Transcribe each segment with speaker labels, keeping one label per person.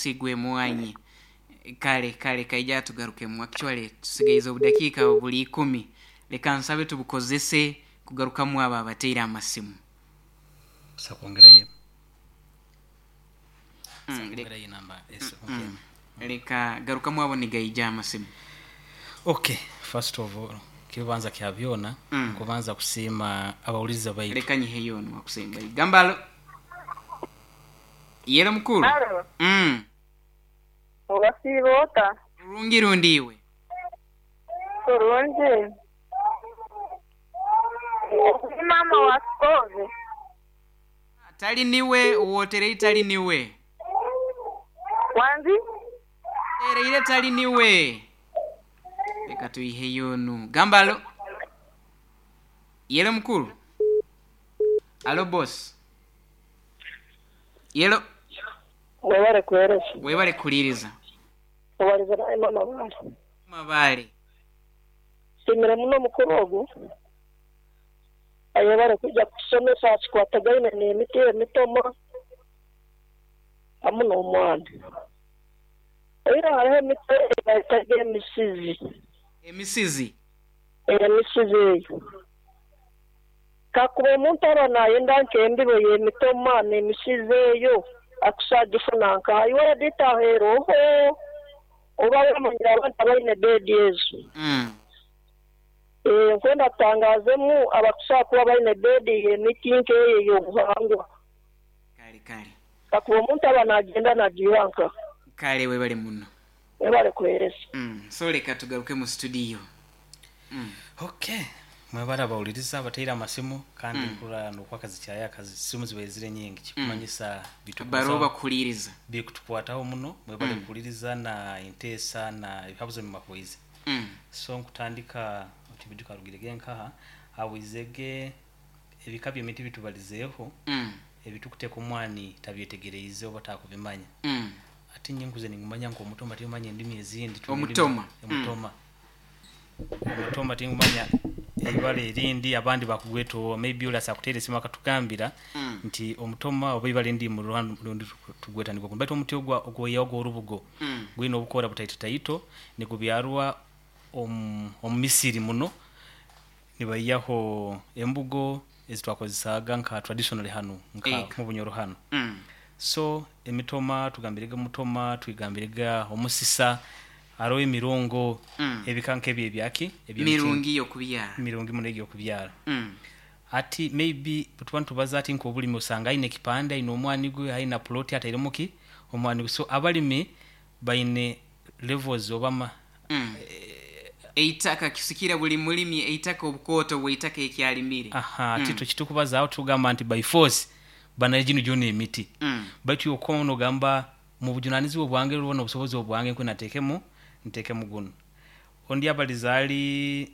Speaker 1: Musiri gw'emwanyi. Kale kale, kaija tugarukemu. Actually tusigaize obudakiika buli 10. Leka nsabe tubukozese kugarukamu abo abateire amasimu.
Speaker 2: Kwongerayo enamba.
Speaker 1: Leka garukamu abo nigaija amasimu.
Speaker 2: Okay, first of all, kibanza kya byona, kubanza kusiima abawuliriza baitu.
Speaker 1: Leka nyiheyo ono wakusembayo. Gamba alo. Yelo mukulu.
Speaker 3: Alo. Obasiiba ota?
Speaker 1: Bulungi rundi iwe?
Speaker 3: Bulungi. Ni maama wa Sikove.
Speaker 1: Tali niwe, wotereire tali niwe.
Speaker 3: Wangi?
Speaker 1: Tereire tali niwe. Leka tuiheyo onu. Gamba alo. Yelo mukulu. Alo boss. Yelo.
Speaker 4: Webale kuwereza.
Speaker 1: Webale kuliriza.
Speaker 4: Obaliza naye mama Bale.
Speaker 1: Mama Bale.
Speaker 4: Nsiimire muno omukuru ogu. Ayebale kwija kutusomesa aha kikwatagaine n'emiti emitoma hamu n'omwana. Oira hariho emiti eyi bayetaga emisizi.
Speaker 1: Emisizi?
Speaker 4: Emisizi eyo. Kakuba omuntu aba nayenda nk'embibo y'emitoma n'emisizi eyo, akusobola kugifuna nkaha? Iwe edita eroho oba wamanyire abantu abaine beedi ezo. Nkwenda tutangazemu abakusobola kuba baine beedi y'emiti nk'eyo ey'obuhangwa.
Speaker 1: Kale kale.
Speaker 4: Kakuba omuntu aba nagenda nagiiha nkaha?
Speaker 1: Kale webale muno.
Speaker 4: Webale kuheereza.
Speaker 1: So leka tugaruke mu studio.
Speaker 2: Okay. Mwebale abawuliriza abateire amasimu, kandi nkurora n'okwakazi kyaya simu zibaire ziri nyingi kikumanyisa
Speaker 1: Baroba bakuhuliriza.
Speaker 2: Bikutukwataho muno. Mwebale kuhuliriza na enteesa na ebihabuzo bimakuize. So nkutandika otibiduka rugirege nkaha awizege ebika by'emiti bitubalizeeho, ebitukuteeka omwani tabyetegereize oba takubimanya. Ate nyenkuze ningumanya nk'omutoma, timanya endimi ezindi.
Speaker 1: Omutoma.
Speaker 2: Omutoma. Omutoma tingumanya eibara erindi abandi bakugweta, maybe oli asakuteera esimu akatugambira nti omutoma oba ibara erindi mu rundi tugweta nigwo. Baitu omuti ogwa ogwoyaho ogw'orubugo gwine obukora butaito taito, nigubyarwa omu misiri muno, nibaiyaho embugo ezitwakozesaaga nka traditionally hanu nka mu Bunyoro hanu. So emitoma tugambirege, omutoma twigambirege, omusisa, hariho emirongo, ebika nk'ebyo ebyaki
Speaker 1: mirungi y'okubyara.
Speaker 2: Mirungi muno egyokubyara. Ati maybe tuba nitubaza ati nk'obulimi, osanga aine ekipande, aine omwani gwe, aine plot atairemu ki omwani gwe. So abalimi baine levels oba
Speaker 1: Eitaka kisikira buli mulimi eitaka, obukooto bw'eitaka ekyalimire.
Speaker 2: Aha, ati tukitukubazaho tugamba nti by force bana gino gyona emiti, baitu okukoma nogamba mu bujunanizibwa bwange oba n'obusobozi obwange nkwenda nteekemu guno. Ondi abaliza ali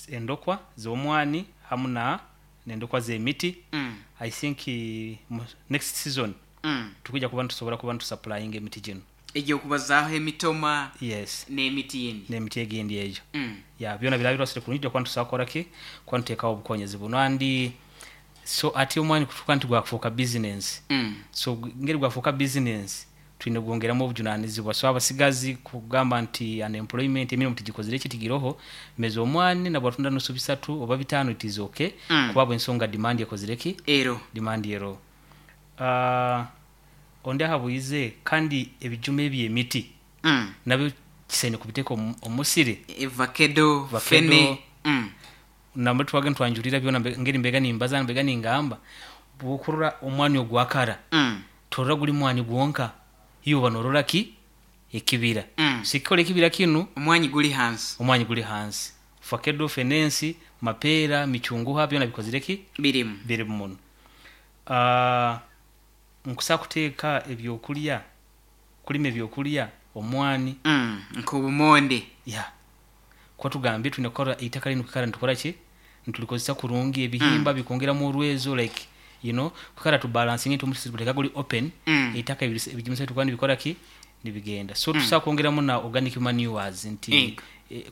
Speaker 2: endokwa z'omwani hamu na n'endokwa z'emiti. I think next season tukwija kuba nitusobora kuba nitusupplyinga emiti gino.
Speaker 1: Egy'okubazaaho emitoma?
Speaker 2: Yes.
Speaker 1: N'emiti yindi.
Speaker 2: N'emiti egindi eyo. Ya, byona birabirwasire kurungi kuba nitusobola kukora ki, kuba nituteekaho obukonyezi buno. Andi so ati omwani kutuuka nti gwakufuuka business. So ngeri gwafuuka business, twine gwongeramu obujunanizibwa. So abasigazi kugamba nti unemployment, emirimu tigikozire ki, tigiroho, meza omwani nabwatunda nusu 3 oba 5, it is okay, kuba bwensonga demand ekozire ki?
Speaker 1: Ero.
Speaker 2: Demand ero. Ondi ahabwize kandi ebijuma eby'emiti nabyo kisaine kubiteeka omusiri.
Speaker 1: Vakedo, fene.
Speaker 2: Nambere twaga nitwanjurira byona, ngeri mbega nimbaza, mbega ningamba, bwokurora omwani ogwakara, torora guli mwani gwonka, iwe oba norora ki ekibira. Sikikola ekibira kinu.
Speaker 1: Omwanyi guli hansi.
Speaker 2: Omwanyi guli hansi, fakedo, fenensi, mapeera, michunguha, byona bikozire ki?
Speaker 1: Birimu.
Speaker 2: Birimu muno. Nkusa kuteeka ebyokulya, kulima ebyokulya omwani.
Speaker 1: Nk'obumonde.
Speaker 2: Ya, kuba tugambye twine kukora eitaka linu, kwikara nitukora ki, nitulikozesa kurungi, ebihimba bikwongeramu orwezo, like kwikara tubalansinga nti omusiri guteka guli open, eitaka ebigimusa bitukuba nibikora ki, nibigenda. So tusobola kwongeramu na organic manures nti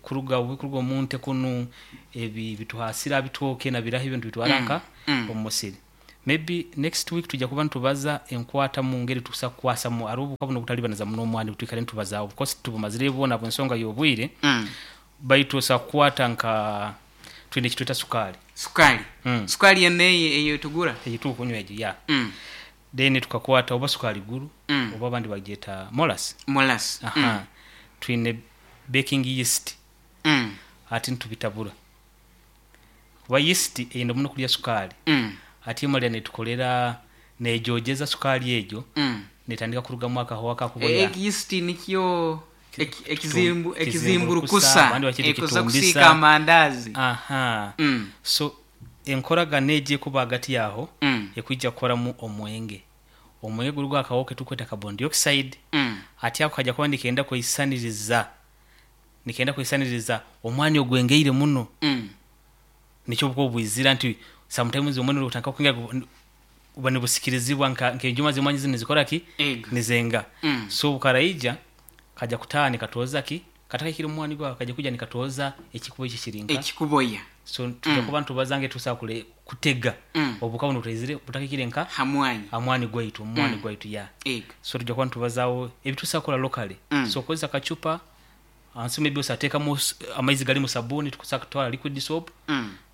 Speaker 2: kuruga obu kuruga omunte kunu ebi bituhasira bitooke na biraho ebintu bitwara nka omu musiri. Maybe next week tujja kuba nitubaza enkwata mu ngeri tukusa kukwasamu hariho obuhuka buno obutalibaniza muno omwani twikare nitubazaaho, of course tubumazire bwona bwensonga y'obwire. Baitu osobola kukwata nka twine ekitweta sukaali.
Speaker 1: Sukali. Sukali yena eyo tugura.
Speaker 2: Eyi tukunywa egyo ya. Then tukakwata oba sukaali guru, oba abandi bagyeta molas.
Speaker 1: Molas.
Speaker 2: Aha. Twine baking yeast. Ati nitubitabura kuba yeast eyenda muno kulya sukaali. Ati emalira netukolera nejogeza sukaali egyo, netandika kurugamu akahoho akakuboya.
Speaker 1: Yeast nikyo
Speaker 2: Ekizimburukusa,
Speaker 1: ekizimburukusa
Speaker 2: abandi bakyeta
Speaker 1: ekoza
Speaker 2: ekitumbisa.
Speaker 1: Kusiika amandazi.
Speaker 2: Aha. So enkoragana egyo ekuba hagati yaho, ekwija kukoramu omwenge. Omwenge guri gwakahoho ketukweta carbon dioxide. Ati ako kajja kuba nikenda kweisaniriza omwani ogwengeire muno. Nikyo obuko bwizira nti sometimes omwani otandika kwengera, buba nibusikirizibwa nk'enjuma z'emwanyi zinu nizikora ki?
Speaker 1: Ego.
Speaker 2: Nizenga. So bukaraija kajja kutaaha nikatooza ki katakahikire omwani gwawe, kajja kuja nikatooza ekikubo ekyo kirinka
Speaker 1: ekikuboya.
Speaker 2: So tujja kuba nitubaza nge tusobola kutega obuhuka buno butaizire butakahikire nka
Speaker 1: hamwanyi.
Speaker 2: Amwani gwaitu, omwani gwaitu ya.
Speaker 1: Ego.
Speaker 2: So tujja kuba nitubazaaho ebitusobola kukora locally. So kozesa akacupa ansi, maybe osateekamu amaizi galimu sabuni, tukusobola kutwara liquid soap,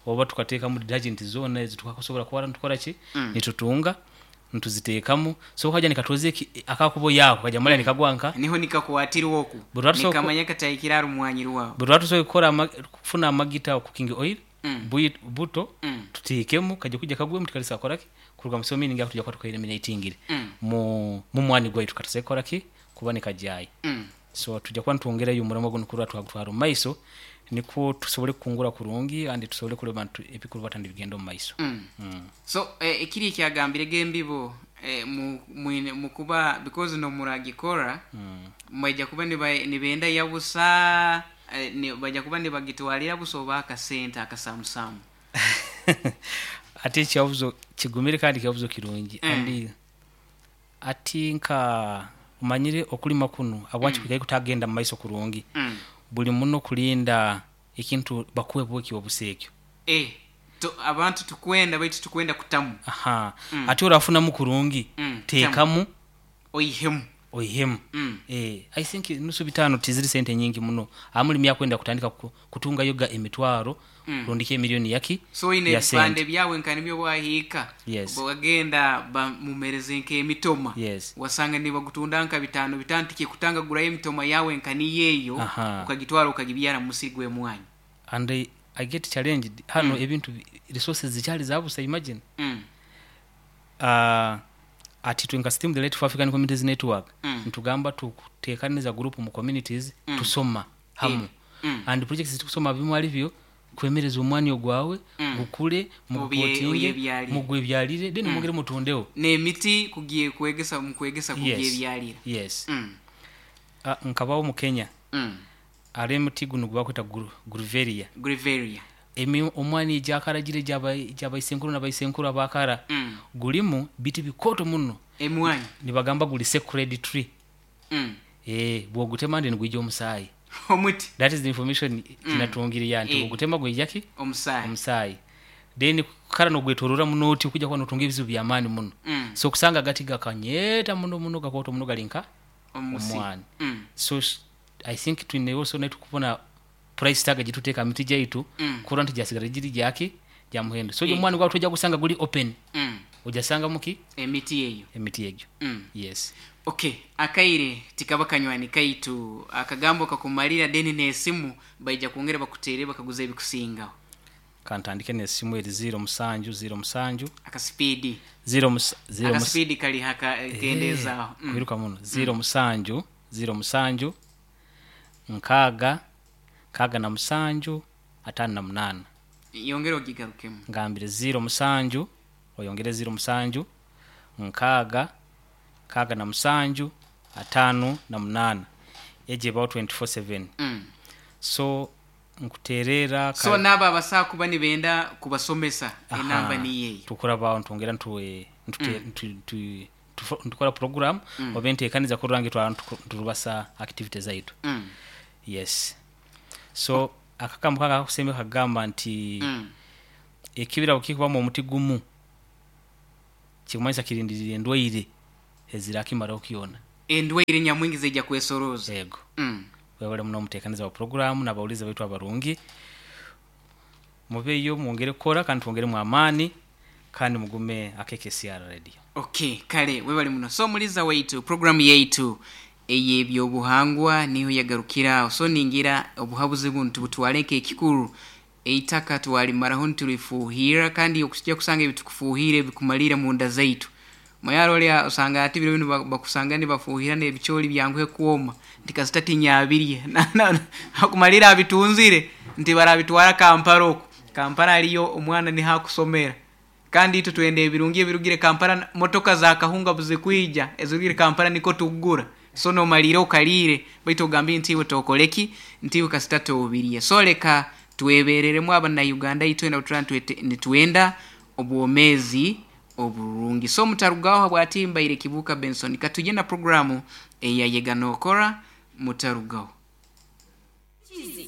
Speaker 2: oba tukateekamu detergent zoona ezi tukakusobola kuba nitukora ki, nitutunga nituziteekamu. So kaja nikatoza akakubo yako kaja mala nikagwa nka
Speaker 1: Niho nikakwatirwa oku.
Speaker 2: Buri watu
Speaker 1: nikamanya katahikire ari omwanyi rwawe.
Speaker 2: Buri watusobola kukora kufuna amagita, cooking oil, buto, tuteekemu, kajja kujja kagwemu, tikalisa kukora ki kuruga mu. So meaning ako tujja kuba tukaeliminatingire mu mwani gwaitu katasobola kukora ki kuba nikajyayo. So tujja kuba nitwongerayo omurimo guno kurora twagutwara omu maiso, nikwo tusobole kukungura kurungi andi tusobole kureba nti ebikurubata nibigenda omu maiso.
Speaker 1: So ekiri ekyagambire gembibo mukuba because nomuragikora mwaija kuba nibenda yabusa, bajja kuba nibagitwalira busa oba akasente akasamusamu.
Speaker 2: Ate ekyabuzo kigumire kandi kyabuzo kirungi. Andi ati nka omanyire okulima kunu habwaki kwikaire kutagenda mu maiso kurungi, buli muno kulinda ekintu bakuwe bweki obusa ekyo.
Speaker 1: Abantu tukwenda baitu tukwenda kutamu.
Speaker 2: Aha. Ati orafunamu kurungi, teekamu
Speaker 1: oihemu.
Speaker 2: Oihemu. I think nusu bitano tiziri sente nyingi muno amulimi akwenda kutandika kutunga yoga emitwaro, rundiki emiliyoni yaki
Speaker 1: So ine
Speaker 2: ya
Speaker 1: ebipande
Speaker 2: sente.
Speaker 1: byawe nka nibyo bwahiika,
Speaker 2: Yes.
Speaker 1: bagenda bamumereze nk'emitoma,
Speaker 2: Yes.
Speaker 1: wasanga nibagutunda nka bitano bitano, tikikutanga gurayo emitoma yawe nka niyeeyo, ukagitwara ukagibyara mu musiri gw'emwanyi.
Speaker 2: And I get challenged hano, ebintu resources zikyali zabusa, imagine. Ati twe nka Steam the Light for African Communities Network, ntugamba tukutekaniza group mu communities, tusoma hamu, and projects zitusoma bimwe ali byo kwemereza omwani ogwawe gukule, mugupotinge,
Speaker 1: oyebyalire.
Speaker 2: Mugwebyalire, then mwongere mutundeho.
Speaker 1: N'emiti kugiye kwegesa mukwegesa
Speaker 2: Yes.
Speaker 1: kugyebyalira.
Speaker 2: Yes. Nkabaho mu Kenya, hariho emuti guno gwebakweta grevillea.
Speaker 1: Grevillea.
Speaker 2: Omwani egyakaragire gyabaisenkuru nabaisenkuru abakara, gulimu biti bikoto muno.
Speaker 1: Emwanyi.
Speaker 2: Nibagamba guli sacred tree. Bwogutema ndi nigwija omusaayi.
Speaker 1: Omuti.
Speaker 2: That is the information kinatungire ya nti bwogutema gwija ki?
Speaker 1: Omusaayi.
Speaker 2: Omusaayi. Then kara nogwetorora muno oti okujja kuba notunga ebizibu byamaani muno. So kusanga agati gakanyeta muno muno, gakoto muno, gali nka
Speaker 1: omusi
Speaker 2: omwani. So I think twine also netukubona price tag gituteeka miti gyaitu, kurora nti gyasigara giri gyaki gya muhendo. So omwani gwawe tojja gusanga guli open, ojasanga muki?
Speaker 1: Emiti eyo.
Speaker 2: Emiti egyo. Yes.
Speaker 1: Okay, akaire tikaba kanywani kaitu, akagambo kakumalira deni n'esimu baija kwongera bakutere bakaguza ebikusingaho.
Speaker 2: Kantandike nesimu eri 07 07.
Speaker 1: Akasipidi.
Speaker 2: Zero zero
Speaker 1: Akasipidi kali haka kendezaaho.
Speaker 2: Kwiruka muno. 07 07 6 67 58.
Speaker 1: Yongera ogigarukemu.
Speaker 2: Ngambire 07, oyongere 07, 6 67 58, egyo ebaho 24/7. So nkuterera.
Speaker 1: So n'abo abasaa kuba nibenda kubasomesa, enamba niyeeyo.
Speaker 2: Tukurabaho ntwongera ntukora program oba enteekaniza kurora ngu nturubasa activity zaitu. Yes, so akakambo kaka kakusembe kagamba nti ekibira bwekikubamu omuti gumu. Kikumanyisa kirindirire endwaire ezirakimaraho kyona.
Speaker 1: Endwaire nyamwingi zijja kwesoroza.
Speaker 2: Yego. Webale muno omuteekaniza wa programu n'abawulizi baitu abarungi. Mubeeyo mwongere kukora kandi twongeremu amaani kandi mugume akekesiara radio.
Speaker 1: Okay, kale webale muno. So muliza waitu programu yaitu ey'ebyobuhangwa niho yagarukira aho. So ningira obuhabuzi bunu tubutwale nk'ekikuru. Eitaka twalimaraho nitulifuuhirra, kandi okujja kusanga ebitukufuuhire bikumalira munda zaitu. Mayaro olya osanga ati biro binu bakusanga nibafuuhira n'ebicooli byanguhe kwoma nti kasita tinyabirye. Akumalira abitunzire nti barabitwara Kampala oku. Kampala aliyo omwana niho akusomera. Kandi itwe twenda ebirungi ebirugire Kampala, motoka za kahunga buzikwija ezirugire Kampala niko tugura. So nomalira okaliire baitu ogambire nti iwe tokoleki, nti iwe kasita toobirye. So leka twebereremu abana Uganda itwena obutura nitwenda obwomeezi oburungi. So mutarugaho habwati mbaire Kibuuka Benson. Katuje na programu eya Yega Nookora, mutarugaho.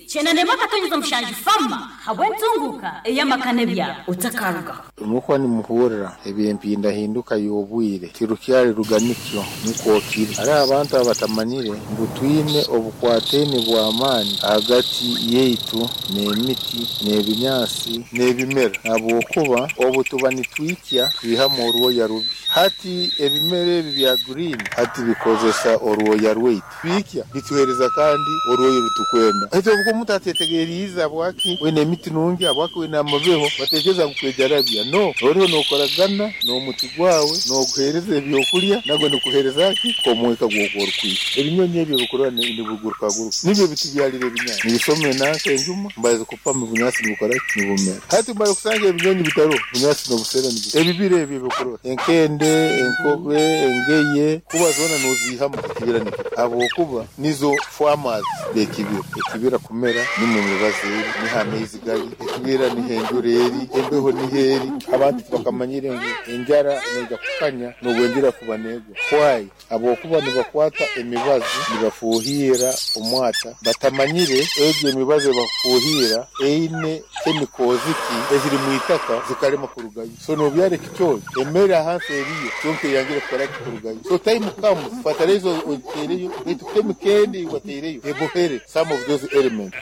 Speaker 5: 91.7 fama habw'entunguka ey'amaka n'ebyaro otakarugaho.
Speaker 6: Mukuba nimuhurra eby'empindahinduka y'obwire tirukyali ruganikyo nukwo kiri. Hariho abantu abatamanyire ngu twine obukwataine bw'amaani hagati yaitu n'emiti n'ebinyaasi n'ebimera, habwokuba obu tuba nitwikya twihamu orwoya rubi. Hati ebimera ebi bya green hati bikozesa orwoya rwaitu, twikya bituheereza kandi orwoya orutukwenda. Hati obu omuntu atetegeriize habwaki wine emiti nungi, habwaki wine amabeho, batekereza ngu kwejarabya. No, oriho nookoragana n'omuti gwawe, nooguheereza ebyokurya, nagwe nikuheereza ki omwika gw'okuba orikwikya. Ebinyonyi ebyo ebikurora nibigurukaguruka nibyo bitubyalira ebinyaasi, nibisoma enanka enjuma, mbaza kupama obunyaasi nibukora ki nibumera. Hati mara kusanga ebinyonyi bitaroho, obunyaasi n'obusera nibu ebibira ebyo ebikurora enkende, enkobe, engeye, kuba zoona nooziihamu ekibira nikyo, habwokuba nizo farmers b'ekibira. Ekibira kumera nimwo emibazi eri, niho amaizi gari, ekibira niho enjura eri, embeho niho eri. Abantu tibakamanyire ngu enjara neija kukanya n'obu enjura kuba neegwa. Why? Habwokuba nibakwata emibazi nibafuuhirra omwata, batamanyire egyo emibazi ebakufuuhirra eine chemicals ki eziri mu itaka zikarema kurugayo. So noobyara ekicoori, emere ahansi eriyo kyonka eyangire kukora ki kurugayo. So time comes fertilizer ogiteereyo, baitu chemical endi ei wateireyo ebohere some of those elements.